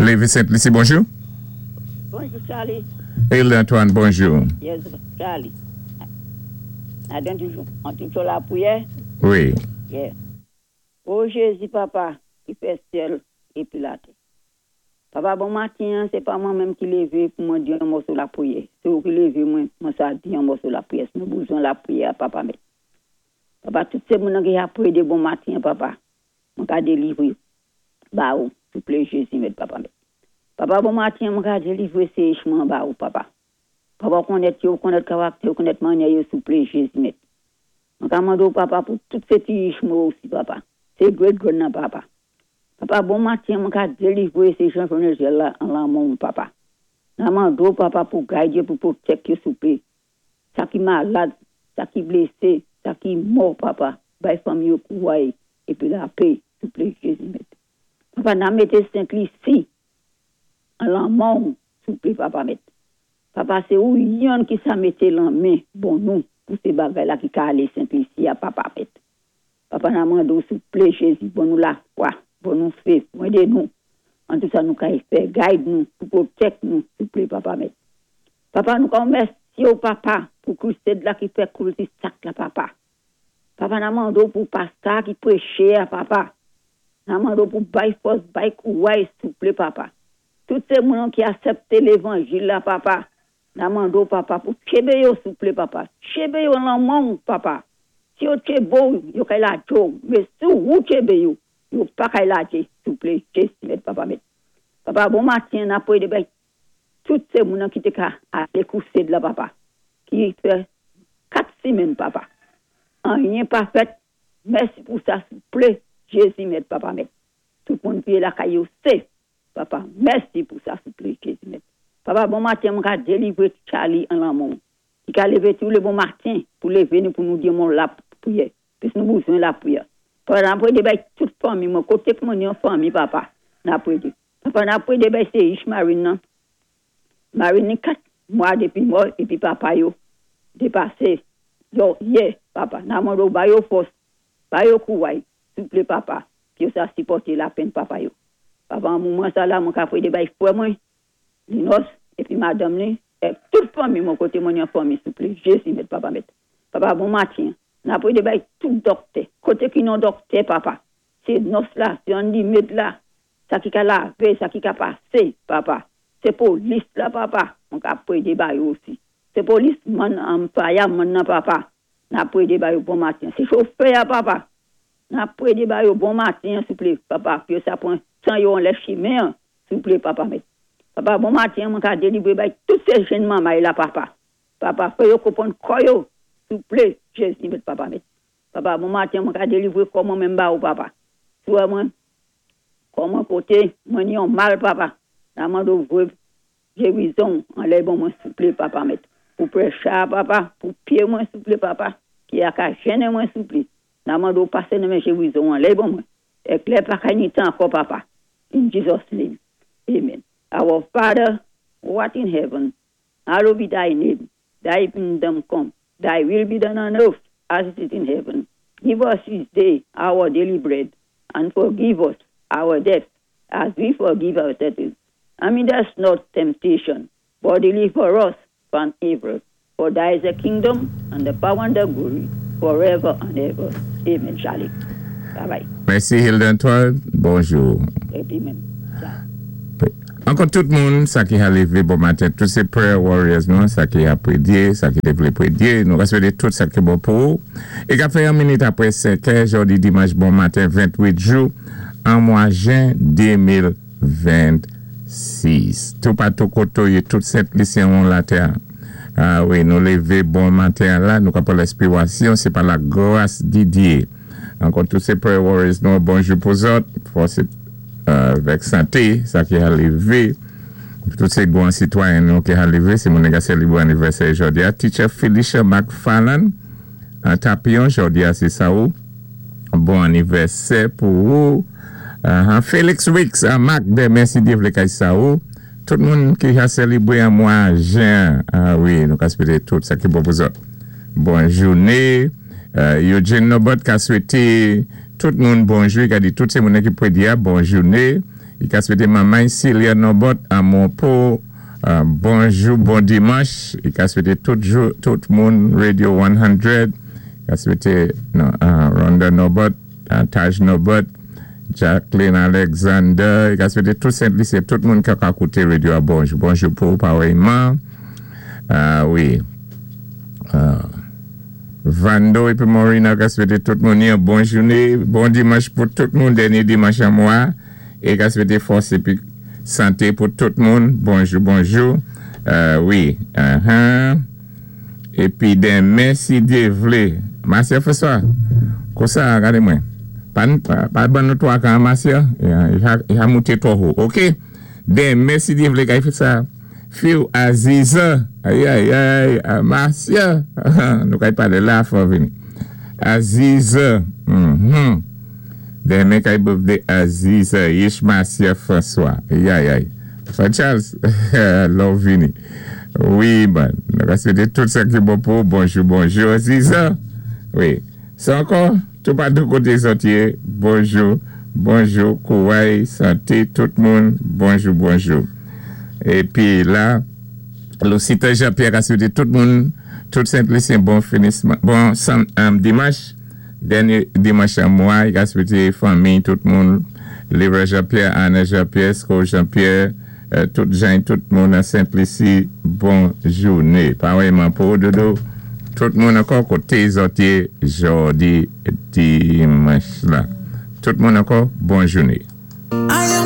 Lévi Sent-Lisi, bonjou. Bonjou, Charlie. Hilda Antoine, bonjou. Yes, Charlie. Adan toujou, an toujou lapriyè? Wi. Yeah. O Jézi, Papa, ki fè syèl épi latè. Papa, bon maten, sé pa mwen menm ki lévé pou mwen di yon mòso lapriyè. Sé ou ki lévé mwen, mwen sa di yon mòso lapriyè. Nou bézwen lapriyè, Papa mèt. Papa, tout sé moun ki ap priyé bon maten, Papa. Mwen ka délivré. Ba ou, souplé, Jézi mèt, Papa mèt. Papa, bon maten, mwen ka délivré sé mwen ba ou, Papa. Papa, konnèt yo, konnèt karaktè, konnèt mannyè yo, souplé, Jézi mèt. Mwen ka mandé Papa pou tout sé ti mwen osi, Papa. Sé great grand nan, Papa. Papa, bon maten, mwen ka délivré sé Jean Jonegel la an lanmen, Papa. N ap mandé Papa pou gidé, pou pwoteje, souplé. Sa ki malad, sa ki blésé, sa ki mò, Papa. Bay fanmi yo kouray épi lapè, souplé, Jézi mèt. Papa, n ap mété Sent-Lisi an lanmen, souplé, Papa mèt. Papa, sé ou youn ki sa mété lanmen, bon nou, pou sé bagay la ki ka alé Sent-Lisi a Papa mèt. Papa, n ap mandé souplé, Jézi, ban nou lafwa, ban nou fé, édé nou. An tou sa nou ka fè, gide nou, pou pwoteje nou, souplé, Papa mèt. Papa, nou rémèsyé ou Papa, pou crusade la ki fè cul-de-sac la, Papa. Papa, n ap mandé pou pastè ki préché, Papa. N ap mandé pou bay fòs, bay kouray, souplé, Papa. Tout sé moun ki aksépté lévanjil la, Papa. N ap mandé Papa, pou tchenbé yo, souplé, Papa. Tchenbé yo lanmen, Papa. Si yo tchenbé, yo kay lajé, mé si ou tchenbé yo, yo pa kay lajé, souplé, Jézi mèt, Papa mèt. Papa, bon maten, n ap priyé bay tout sé moun ki té ka alé crusade la, Papa. Ki fè 4 simenn, Papa. Anyen pa fèt. Mèsi pou sa, souplé, Jézi mèt, Papa mèt. Tout moun ki lakay yo safe, Papa. Mèsi pou sa, souplé, Jézi mèt. Papa, bon maten, mwen ka délivré Charlie an lanmen. Ki ka lévé tou lé bon maten pou lévé nou pou nou di yon lapriyè. Pis nou bézwen lapriyè. Papa, n ap priyé bay tout fanmi, mwen koté pou mwen yon fanmi, Papa. N ap priyé. Papa, n ap priyé bay sé Ich Marine nan. Marine ni 4 mwa dépi mò épi papa yo dépasé. Yo, yeah, Papa. N ap mandé ba yo fòs, ba yo kouray, souplé, Papa, ki yo sa sipòté lapenn papa yo. Papa, an moman sa la, mwen ka priyé bay frè mwen, Linos, épi madanm li, é tout fanmi, mwen koté mwen yon fanmi, souplé, Jézi mèt, Papa mèt. Papa, bon maten. N ap priyé bay tout doktè. Koté ki non doktè, Papa. Sé nurse la, sé Andy med la. Sa ki ka lavé, sa ki ka pasé, Papa. Sé polis la, Papa. Mwen ka priyé bay yo osi. Sé policeman an fireman nan, Papa. N ap priyé bay yo bon maten. Sé chofè, Papa. N ap priyé bay yo bon maten, souplé, Papa. Pi sa pran tan yo anlè chimen, souplé, Papa mèt. Papa, bon maten, mwen ka délivré bay tout sé jenn manmay la, Papa. Papa, fè yo konpwann kò yo, souplé, Jézi mèt, Papa mèt. Papa, bon maten, mwen ka délivré kò mwen menm ba ou, Papa. Swa mwen, kò mwen koté, mwen ni yon mal, Papa. N ap mandé ou gérizon anlè bon mwen souplé, Papa mèt. Pou pressure, Papa, pou pyé mwen souplé, Papa, ki a ka jénen mwen souplé. N ap mandé ou pasé nan men gérizon anlè bon mwen. Éklè pa kay ni tan ankò, Papa. In Jesus' name. Amen. Our Father, who art in heaven, hallowed be thy name. Thy kingdom come. Thy will be done on earth as it is in heaven. Give us this day our daily bread, and forgive us our debts as we forgive our debtors. And lead us not temptation, but deliver us from evil. For thy is the kingdom, and the power and the glory, forever and ever. Amen. Charlie. Bye bye. Mèsi Hilda Antoine, bonjou. Épi menm. Ankò tout moun, sa ki a lévé bon maten, tout sé prayer warriors nou, sa ki ap priyé, sa ki té vlé priyé, nou swété tout sa ki bon pou ou. É ka fè yon minit apwé 5 è, jòdi dimanch bon maten 28 jou, an mwa jen 2026. Tou patou koté ou yé tout Sent-Lisyen ou latè. A wi, nou lévé bon maten la, nou ka pran lenspirasyon, sé pa lagras di Dye. Ankò tout sé prayer warriors nou, bonjou pou zòt, fòs avèk santé, sa ki a lévé. Tout sé gran sitwayen nou ki a lévé, sé moun ki a sélébré anivèsè jòdi a. Teacher Felicia McFarland, an Tapion, jòdi a sé sa ou. Bon anivèsè pou ou. Felix Wicks, an Marc denmen si Dye vlé kay sa ou. Tout moun ki a sélébré an mwa jen. A wi, nou ka swété tout sa ki bon pou zòt. Bon jouné. Eugene Nobert ka swété tout moun bonjou, i ka di tout sé moun ki priyé bon jouné. I ka swété manmay Celia Nobot a Monpo, bonjou, bon dimanch. I ka swété tout jou, tout moun Radio 100. I ka swété Rhonda Nobot, Taj Nobot, Jacqueline Alexander. I ka swété tout Sent-Lisi, tout moun ki ka kouté radyo a bonjou. Bonjou pou parèyman. Wi. Vando épi Maureen ka swété tout moun yon bon jouné, bon dimanch pou tout moun, dènyé dimanch an mwa. É ka swété fòs épi santé pou tout moun. Bonjou, bonjou. Wi. Épi denmen, si Dye vlé. Marcia François, konsa, gadé mwen. Pa ban nou twa kan, Marcia. I ka mouté twò wo. OK? Denmen, si Dye vlé, kay fè sa. Fiw Aziza. Ay, ay, ay. Marcia. Nou kay palé la, fò vini. Aziza. Denmen kay birthday Aziza. Yish Marcia François. Ay, ay, ay. Frè Charles, lò vini. Wi, man. Nou ka swété tout sa ki bon pou. Bonjou, bonjou, Aziza. Wi. Sa ankò, tout patou koté zòt yé. Bonjou, bonjou, kouway, santé, tout moun. Bonjou, bonjou. Épi la, Lucita Jean-Pierre a swété tout moun, tout Sent-Lisyen bon finisman, bon dimanch, dènyé dimanch an mwa, i ka swété fanmi, tout moun, Leroy Jean-Pierre, Anna Jean-Pierre, Sko Jean-Pierre, tout jan, tout moun an Sent-Lisi, bon jouné. Parèyman pou Dodo, tout moun ankò koté zòt yé jòdi dimanch la. Tout moun ankò, bon jouné.